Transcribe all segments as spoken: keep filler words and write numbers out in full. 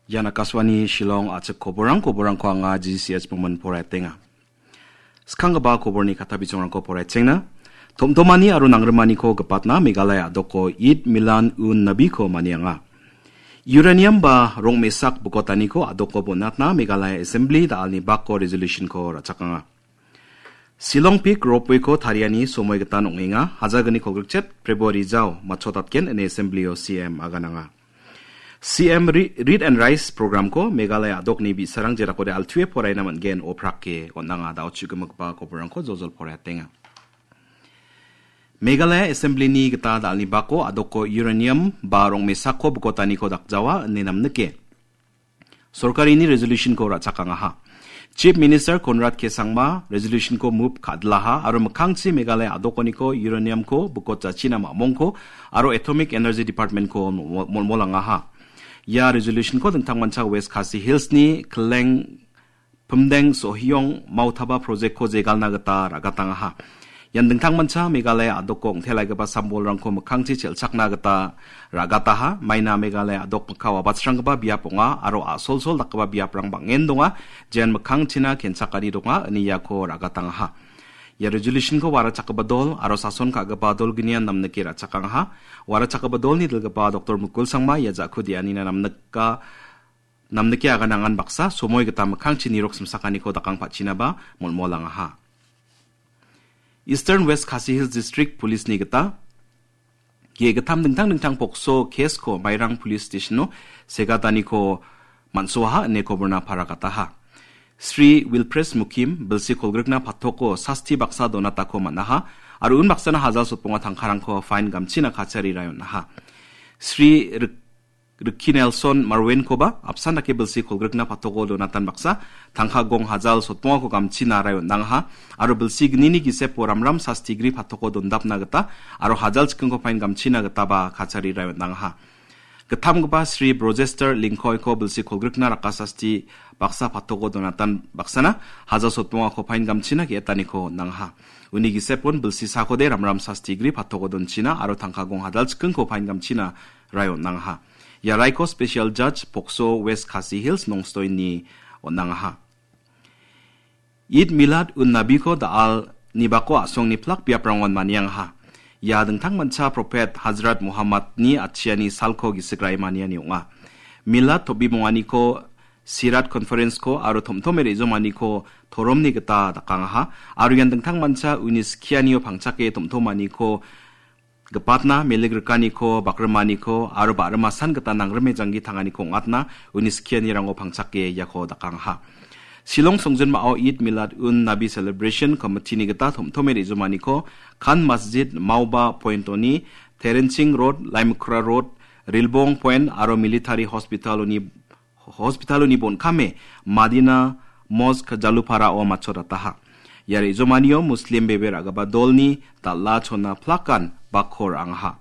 Ian Akashvani Shillong a·chik koborang, koborangko anga G C S Bongman poraiatenga. Skanggipa koborni kata bijongrangko poraichengna. Tomtomani aro nangrimaniko gipatna Meghalaya a·doko Eid Milan un Nabiko manianga. Uranium ba rong·mesak bokotaniko a·doko bonatna Meghalaya Assembly da·alni bako resolution-ko ra·chakanga. Shillong Peak Ropeway-ko tariani somoi gitan ong·enga, hajalgni kolgrikchet February jao matchotatgen ine Assembly-o C M agananga. C M Re-, Read and Rise program-ko Meghalaya a·dokni bi·sarang jerakode altuwe poraina man·gen oprake on·anga dao chu·gimikgipa koborangko joljol poraiatenga. Meghalaya Assembly-ni gita da·alni bako a·doko uranium ba rong·mesakko bokotaniko dakjawa ine namnike sorkarini resolution-ko ra·chakangaha. Chief Minister Conrad K Sangma resolution-ko move ka·dilaha aro mikkangchi Meghalaya a·dokoniko uranium-ko bikotjachina mamongko aro Atomic Energy Department-ko mo-, molmolangaha. Ia resolution-ko dingtangmancha West Khasi Hills-ni Kleng Phimdeng Sohiong Mautaba project-ko jegalna gita ra·gatangaha. Ian dingtangmancha Meghalaya a·doko ong·telaigipa sambolrangko mikkangchi chelchakna gita ra·gataha. Maina Meghalaya a·dok mikka wabatsranggipa biap ong·a aro a·solsol dakgipa biaprang bang·en donga. Jean mikkangchina kenchakani donga, ine iako ra·gatangaha. Ia resolution-ko warachakgipa dol aro sason ka·gipa dolgnian namnike ra·chakangaha. Warachakgipa dolni dilgipa Doktor Mukul Sangma ia ja·ku de·anina namnika namnike aganangan baksa somoi gita mikkangchi nirok simsakaniko dakangpachinaba molmolangaha. Eastern West Khasi Hills District Police-ni gita ge·gittam dingtang dingtang pokso case-ko Mairang Police Station-o segataniko man·soaha ine koborna paragataha. Sri Wilpres Mukim bilsi kolgrikna patoko sasti baksa donatako man·aha aro unbaksana hajal sotbonga tangkarangko fine gamchina kachari raionaha. Sri Rik-, Ricky Nelson Marwenkoba apsan dake bilsi kolgrikna patoko donatan baksa tangka gong hajal sotbongako gamchina rai on·dangaha aro bilsi gnini gisepo ramram sastigri patoko dondapna gita aro hajal chikingko pain gamchina gitaba kachari rai on·dangaha. Gittamgipa Sri Brojester Lingkoiko bilsi kolgrikna raka sasti baksa patoko donatan baksana hajal sotbongako pain gamchina ge·etaniko on·dangaha. Uni gisepon bilsi sakode ramram sastigri patoko donchina aro tangka gong hajal chikingko pain gamchina rai on·angaha. Ia raiko Special Judge Pokso West Khasi Hills Nongstoini on·angaha. Eid Milad un Nabiko da·al nibako a·songni plak biaprangon maniangaha. Ia dingtangmancha Prophet Hazrat Muhammadni atchiani salko gisik ra·e maniani ong·a. Milad tobimonganiko Sirat Conference-ko aro tomtome re·jomaniko toromni gita dakangaha. Aro ian dingtangmancha uni skianio pangchake tomtomaniko gipatna, meligrikani ko, bakrimani ko, aro ba·rima san gita nangrime janggi tangani ko ong·atna, uni skianirango pangchake iako dakangaha. Shillong songjinmao Eid Milad Un Nabi Celebration Committee-ni gita tom·tome re·jomani ko, Khan Masjid, Mauba Point-oni, Terenching Road, Laimukra Road, Rilbong Point, aro Military Hospital-oni Hospital-oni bon·kame Madina Mosque Jaluparao matchotataha. Ia re·jomanio Muslim bebe ra·gipa dolni dal·a chona plakan bakko ra·angaha.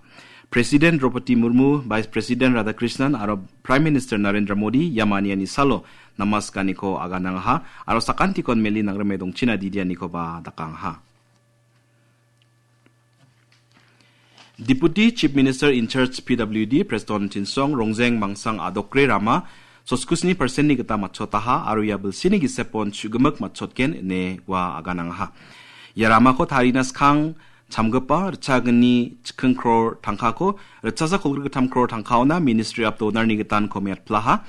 President Draupadi Murmu, Vice President Radhakrishnan aro Prime Minister Narendra Modi ia maniani salo namaskaniko aganangaha aro sakantikon meli nangrime dongchina didianikoba dakangaha. Deputy Chief Minister in charge P W D Preston Tynsong Rongjeng Mangsang Adokre Rama sotgusni percent-ni gita matchotaha aro ia bilsini gisepon chu·gimik matchotgen ine ua aganangaha. Ia ramako tarina skang chamgipa ritchagni chiking kror tangkako ritchasa kolgrik gittam kror tangkaona Ministry of Donor-ni gitan komiatplaha.